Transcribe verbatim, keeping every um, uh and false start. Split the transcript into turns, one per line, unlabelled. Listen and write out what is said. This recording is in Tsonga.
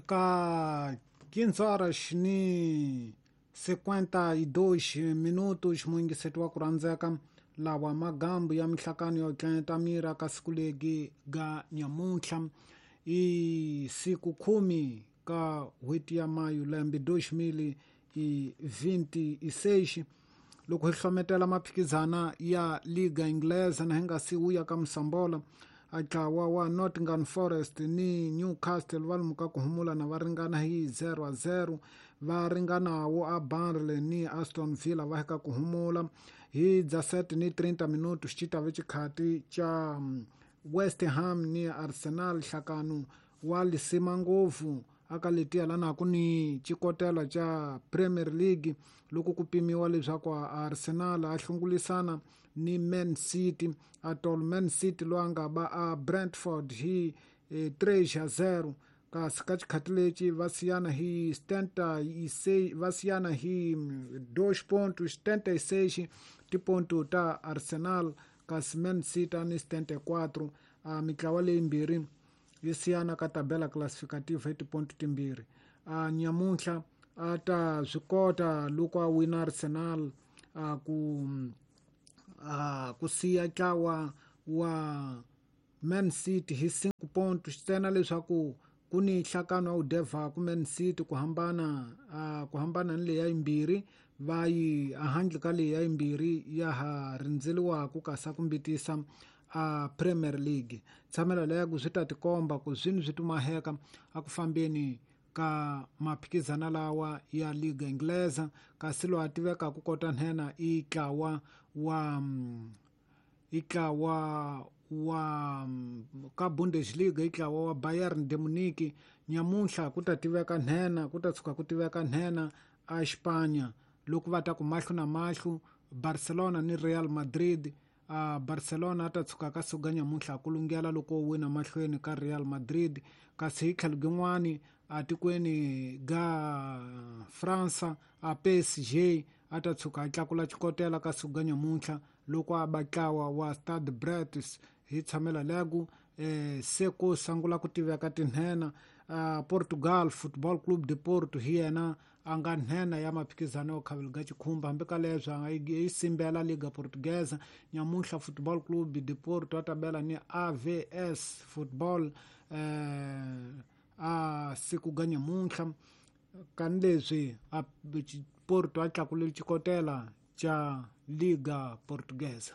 Ka quinze horas ni cinquenta e dois minutos muyingiseti wa ku rhandzeka lawa magambu ya mihlakano yo tlenta mira ka siku legi ga nyamuntlha i siku khume ka n'hweti ya mayu lembe dois mil e vinte e seis loko hi hlometela maphikizana ya Liga Inglesa na hi nga si wuya ka Musambola a ntlawa wa Nottingham Forest ni Newcastle va lumuka ku humula na va ringana hi zero a zero va ringanawo a Burnley ni Aston Villa va heka ku humula hi dezessete ni trinta minutos xi ta ve xikhati xa West Ham ni Arsenal nhlakano wa lisima ngopfu aka letiya lana ku ni xikotela xa Premier League loko ku pimiwa leswaku Arsenal a hlungulisana ni Man City atol Man City loyi a nga ba a Brentford hi três a zero kasi ka xikhati lexi va siyana hi setenta e seis va siyana hi dois pontos setenta e seis tiponto ta Arsenal kasi Man City ni setenta e quatro a mitlawa leyimbirhi yi siyana ka tabela classificativa hi tiponto timbirhi a nyamuntlha a ta swi kota loko a wina Arsenal a ku a ku siya ntlawa wa Man City hi cinco pontos ntsena leswaku ku ni nhlakano wa wu devhaku Man City ku hambana a ku hambana ni leya yimbirhi va yi ehandle ka leya yimbirhi ya ha rindzeliwaku kasi a ku mbitisa a Premier League tshamela leya ku swi ta tikomba ku swini swi tumaheka a ku fambeni ka maphikizana lawa ya Liga Inglesa kasi loyi a tivekaka kota nhenha i ntlawa wa i ntlawa wa ka Bundesliga i ntlawa wa Bayern de Munich nyamuntlha ku ta tiveka nhenha ku ta tshuka ku tiveka nhenha a Espanya loko va ta ku mahlo na mahlo Barcelona ni Real Madrid a Barcelona a ta tshuka ka suka nyamuntlha ku lunghela loko wina mahlweni ka Real Madrid kasi hi tlhelo gin'wani a tikweni ga Fransa a P S G a ta tshuka a tlakula xikotela ka suka nyamuntlha loko a ba ntlawa wa Stade Brest hi tshamela legu eh, se ku sungula ku tiveka tinhena uh, Portugal Football Club de Porto hi yena a nga nhenha ya maphikizano yo khavela ga xikhumba hambi ka leswi a nga yi simbela Liga Portuguesa nyamuntlha Football Club de Porto a ta bela ni A V S Football eh, a siku ga nyamuntlha kani leswi a Porto a tlakulile xikotela xa Liga Portuguesa.